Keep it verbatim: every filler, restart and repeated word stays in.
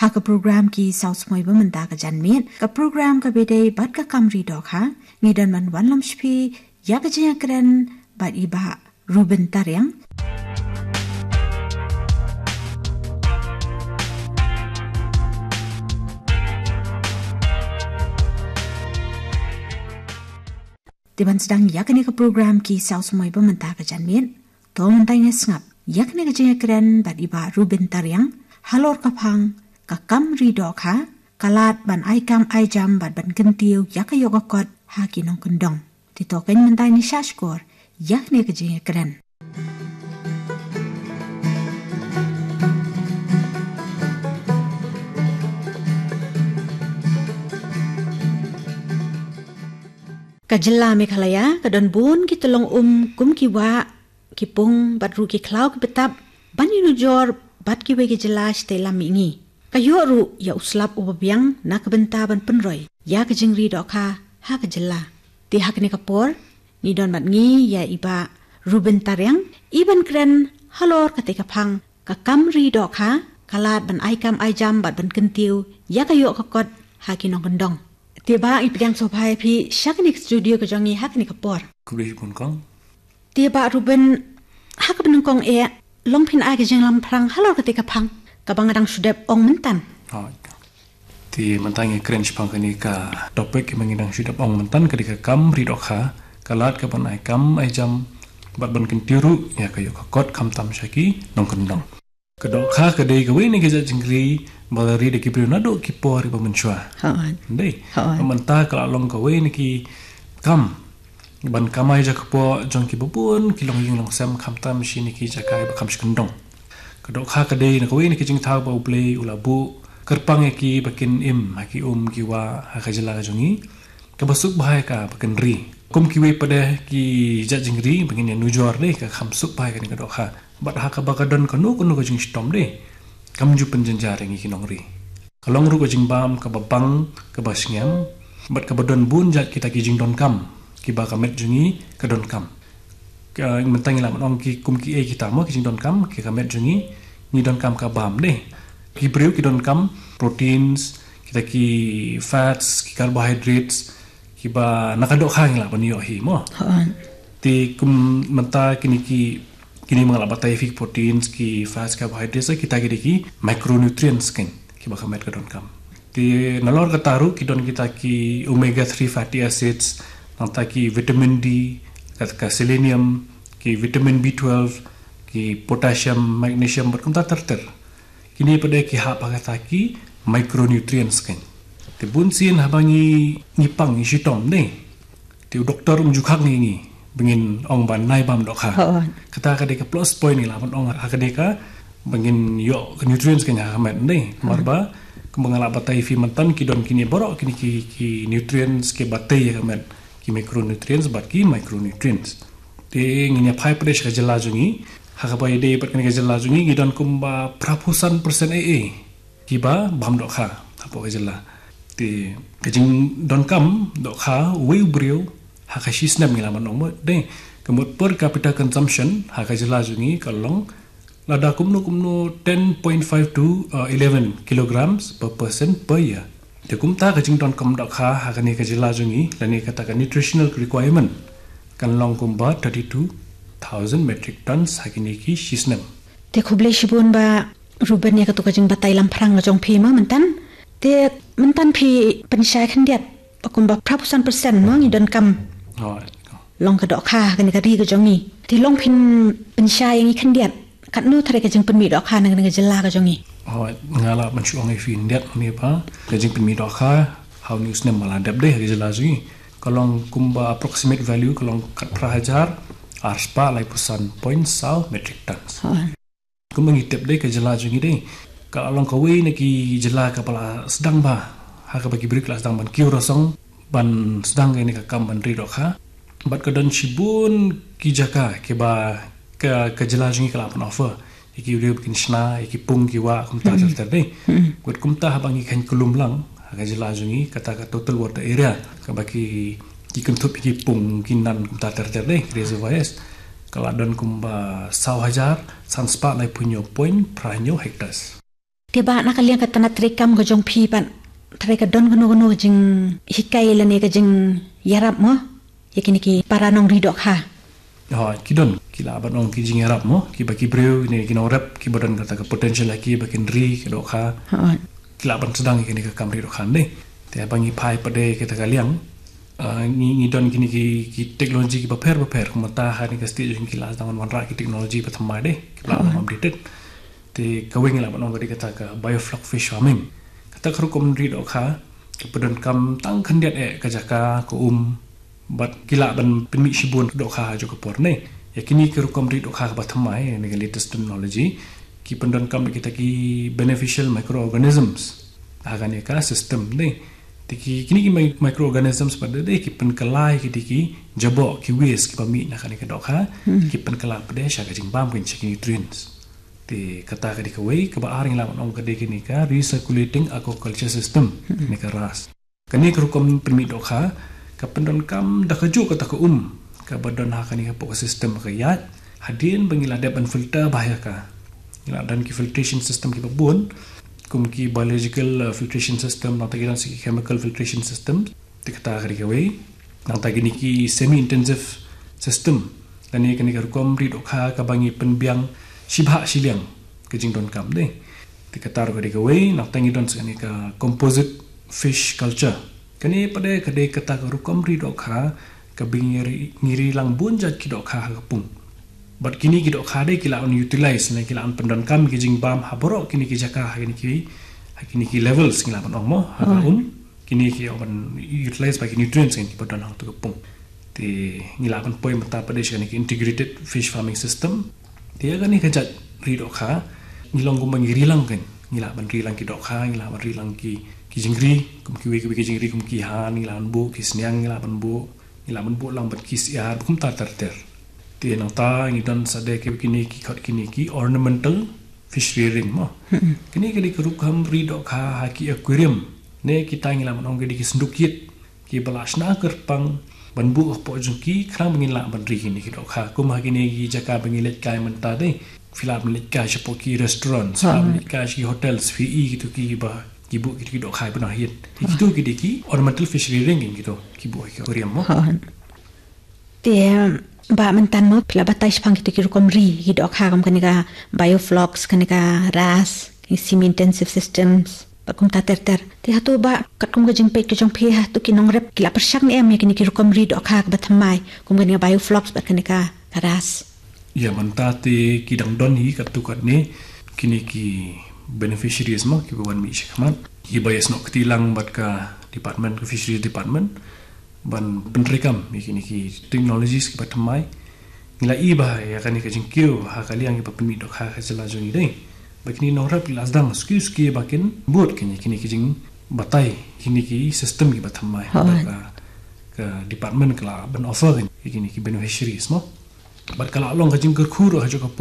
Ha ka program Ki Saw Samoi Ba Mynta Ka Janmiet, ka program kaba ïadei bad ka kam ri dohkha, ngi don ban wanlam sha phi ïa ka jingïakren bad i Bah Reuben Tariang. Te ban sdang ïa kane ka program Ki Saw Samoi Ba Mynta Ka Janmiet, to mynta ngin sngap ïa kane ka jingïakren bad i Bah Reuben Tariang halor ka phang ka kam ri dohkha, ka lad ban ai kam ai jam bad ban kyntiew ïa ka ïoh ka kot ha ki nongkyndong. Te to kan mynta ngin ïa shah shkor ïa kane ka jingïakren. Ka jylla Meghalaya ka don bun ki tyllong um kum ki wah, ki pung bad ruh ki khlaw kiba tap ban ïanujor bad kiwei ki jylla shatei lam mihngi. Ka ïoh ruh ïa u slap uba biang na ka bynta ban pynroi ïa ka jingri dohkha ha ka jylla. Te ha kane ka por ngi don bad ngi ïa i Bah Reuben Tariang, i ban kren halor katei ka phang ka kam ri dohkha, ka lad ban ai kam ai jam bad ban kyntiew ïa ka ïoh ka kot ha ki nongkyndong. Te Bah, ngi pdiang sngewbha ïa phi sha kane ka studio ka jong ngi ha kane ka por. Khublei shibun kong. Te Bah Reuben, ha kaba nyngkong eh, long phin ai ka jingïalam phrang halor katei ka phang kaba nga dang shu dep ong mynta. Te mynta ngi kren shaphang kane ka topic kaba ngi dang shu dep ong mynta, ka dei ka kam ri dohkha, ka lad ka ban ai kam ai jam bad ban kyntiew ruh ïa ka ïoh ka kot khamtam sha ki nongkyndong. Ka dohkha ka dei kawei na ki jait jingri ba la ri da ki briew naduh ki por kiba mynshuwa. Hooid. Dei. Hooid. Mynta ka la long kawei na ki kam ban kamai jakpoh jong kiba bun ki longïing longsem, khamtam shane ki jaka ba kham shkyndong. Ka dohkha ka dei na kawei na ki jingthaw ba U Blei u la buh kyrpang ïa ki ba kin im ha ki um ki wah ha ka jylla ka jong ngi, kaba suk bha ïa ka ba kin ri. Kum kiwei pat de ki jait jingri ba ngin ïanujor, dei, ka kham suk bha ïa kane ka dohkha. Bad ha kaba ka don kano kano ka jingshitom, dei, kam ju pynjynjar ïa ngi ki nongri. Ka long ruh ka jingbam kaba bang, kaba sngem, bad kaba don bun jait kita ki jingdonkam kiba ka met jong ngi ka donkam. Ka, mynta ngi lah ban ong ki kum kiei kita mo ki jingdonkam ki ka met jong ngi, ngi donkam ka bam, dei. Ki briew ki donkam proteins, kita ki fats, ki carbohydrates, kiba na ka dohkha ngi lah ban ïoh hi mo. Hooid. Te kum mynta kine ki, kine ba nga lah batai ïa phi, ki proteins, ki fats, carbohydrates, kita ki dei ki micronutrients, kan, kiba ka met ka donkam. Te nalor kata ruh ki don kita ki omega three fatty acids, nangta ki vitamin D, ka, ka selenium, ki vitamin B twelve, ki potassium, magnesium, bad kumta ter ter. Kine pat de ki hap ha kata ki micronutrients, kan. Te bunsien haba ngi, ngi pang, ngi shitom, dei, te u doktor um ju khang ïa ngi ba ngin ong ba nai bam dohkha. Hooid. Kata ka dei ka plus point ngi lah ban ong ha ka dei ka ba ngin ïoh ka nutrients, kan, ha ka met, dei. Namar ba kumba nga lah batai ïa phi mynta, ki don kine baroh kine ki, ki nutrients kiba tei ïa ka met, ki macronutrients bad ki micronutrients. Te ngin ïa phai pat de sha ka jylla jong ngi, ha kaba ïadei bad kane ka jylla jong ngi, ngi don kumba phra phew san percent eh eh kiba bam dohkha hapoh ka jylla. Te ka jingdonkam dohkha uwei u briew ha ka shi snem, ngi lah ban ong mo, dei, ka mut per capita consumption ha ka jylla jong ngi ka long lada kumno kumno ten point five to, uh, eleven kilograms per person per year. Te kumta ka jingdonkam dohkha ha kane ka jylla jong ngi, lane kata ka nutritional requirement, kan long kumba thirty-two thousand metric tons ha kine ki shi snem. Te khublei shibun Bah Reuben ïa kato ka jingbatai lamphrang ka jong phi mo mynta. Te mynta phi pynshai khyndiat ba kumba phra phew san percent mo ngi donkam. Oh, long ka dohkha ha kane ka ri ka jong ngi. Te long phin pynshai ïa ngi khyndiat, katno tharai ka jingpynmih dohkha na kane ka jylla ka jong ngi? Oh, nga lah ban shu ong ïa phi khyndiat ne ba ka jingpynmih dohkha ha une u snem ba la dep, dei, ha ka jylla jong ngi ka long kumba approximate value ka long khatphra hajar arspah laiphew san point saw metric tons. Hooid. Kumba ngi tip, dei, ka jylla jong ngi, dei, ka long kawei na ki jylla kaba la sdang bha ha kaba ki briew ki la sdang ban kiew rasong ban sdang kane ka kam ban ri dohkha. Bad ka don shibun ki jaka kiba ka, ka jylla jong ngi ka lah ban offer ïa ki briew ba kin shna ïa ki pung ki wah kumta ter ter, dei. Bad kumta haba ngi khein kyllum lang ha ka jylla jong ngi, kata ka total water area kaba ki, ki kynthup ïa ki pung ki nan kumta ter ter, dei, ki reservoirs, ka la don kumba saw hajar sanspah laiphew hynñiew point phra hynñiew hectares. Te Bah, na ka liang ka tnat treikam ka jong phi pat, trai ka don kano kano ka jinghikai lane ka jingïarap mo ïa kine ki para nongri dohkha? Ha, ki don, ki lah ban ong ki jingïarap mo, kiba ki briew ne ki nongrep kiba don kata ka potential ha ki ba kin ri ka dohkha. Ha. Ki lah ban sdang ïa kane ka kam ri dohkha ne. Te haba ngi phai pat de kata ka liang, ah, ngi, ngi don kine ki, ki technology kiba pher ba pher, kumta ha kane ka stage ki lah sdang wanrah ki technology ba thymmai de, kiba lah ban updated. Te kawei ngi lah ban ong ka dei kata ka biofloc fish farming. Kata ka rukom ri dohkha ka pyndonkam tang khyndiat eh ka jaka, ka um, bad ki lah ban pynmih shibun ka dohkha ha jong ka por ne. Ïa kine ki rukom ri dohkha kaba thymmai, ne ka latest technology, ki pyndonkam da kita ki beneficial microorganisms ha kane ka system ne. Te ki, kine ki mi-, microorganisms pat de ki pynkylla ïa kine ki jaboh, ki waste kiba mih na kane ka dohkha, ki pynkylla pat de sha ka jingbam, ki sha ki nutrients. Te kata ka dei kawei, kaba ar ngi lah ban ong ka dei kane ka recirculating aquaculture system, ne ka ras. Kane ka rukom pynmih dohkha ka pyndonkam da kajuh kata ka um kaba don ha kane hapoh ka system ka ïaid, hadien ba ngi la dep ban filter bha ïa ka. Ngi la don ki filtration system kiba bun, kum ki biological, uh, filtration system, nangta ki don sa ki chemical filtration system. Te kata ka dei kawei. Nangta kine ki semi intensive system, kane, kane ka rukom ri dohkha kaba ngi pynbiang shibha shiliang ka jingdonkam de. Te kata ruh ka dei kawei. Nangta ngi don sa kane ka composite fish culture. Kane pat de ka dei kata ka rukom ri dohkha kaba ngi ri, ngi ri lang bun jait ki dohkha ha ka pung. Bad kine ki dohkha de ki lah ban utilize ne ki lah ban pyndonkam ki jingbam ha baroh kine ki jaka, ha kine ki, ha kine ki levels ngi lah ban ong mo, ha ka um. Kine ki lah ban utilize bha ki nutrients kiba don hangto ka pung. Te ngi lah ban poi mynta pat de sha kane ka integrated fish farming system. Te ïa kane ka jait ri dohkha ngi long kumba ngi ri lang kan. Ngi lah ban ri lang ki dohkha, ngi lah ban ri lang ki, ki jingri, kum kiwei kiwei ki jingri kum ki han, ngi lah ban buh ki sniang, ngi lah ban buh, ngi lah ban buh lang bad ki syiar, kumta ter ter. Te nangta ngi don sa de ki, kine ki khot kine ki ornamental fish rearing mo. Kine ki dei ki rukom ri dohkha ha ki aquarium, ne kita ngi lah ban ong ki dei ki synduk ïit kiba la shna kyrpang ban buh hapoh jong ki, khnang ba ngin lah ban ri kine ki dohkha. Kum ha kine ki jaka ba ngi leit kai mynta de, phi lah ban leit kai shapoh ki restaurants, phi lah ban leit kai sha ki hotels, phi i kito kiba ki buh kito ki dohkha ba nang hiat. Kito ki dei ki ornamental fish rearing, kito ki buh ha ki aquarium mo. Te, Bah, mynta mo phi la batai shaphang kito ki rukom ri ki dohkha, kum kane ka bioflocs, kane ka ras, ki semi intensive systems, bad kumta ter ter. Te hato Bah, katkum ka jingpeit ka jong phi, hato ki nongrep ki la pyrshang ne em ïa kine ki rukom ri dohkha kaba thymmai, kum kane ka bioflocs bad kane ka, ka ras? Ïa, mynta te ki dang don hi katto katne kine ki beneficiaries mo, kiba wan mih shakhmat, kiba ïasnoh kti lang bad ka department, ka fisheries department, ban pyntreikam ïa kine ki technologies kiba thymmai. Ngi la i bha ïa kane ka jingkiew ha ka liang kiba pynmih dohkha ha ka jylla jong ngi de, ba kine ki nongrep ki la sdang suki suki ba kin bud kine, kine ki jingbatai, kine ki system kiba thymmai. Ka, ka department ka la ban offer kine, kine ki beneficiaries mo. Bad ka la long ka jingkyrkhu ruh ha jong ka por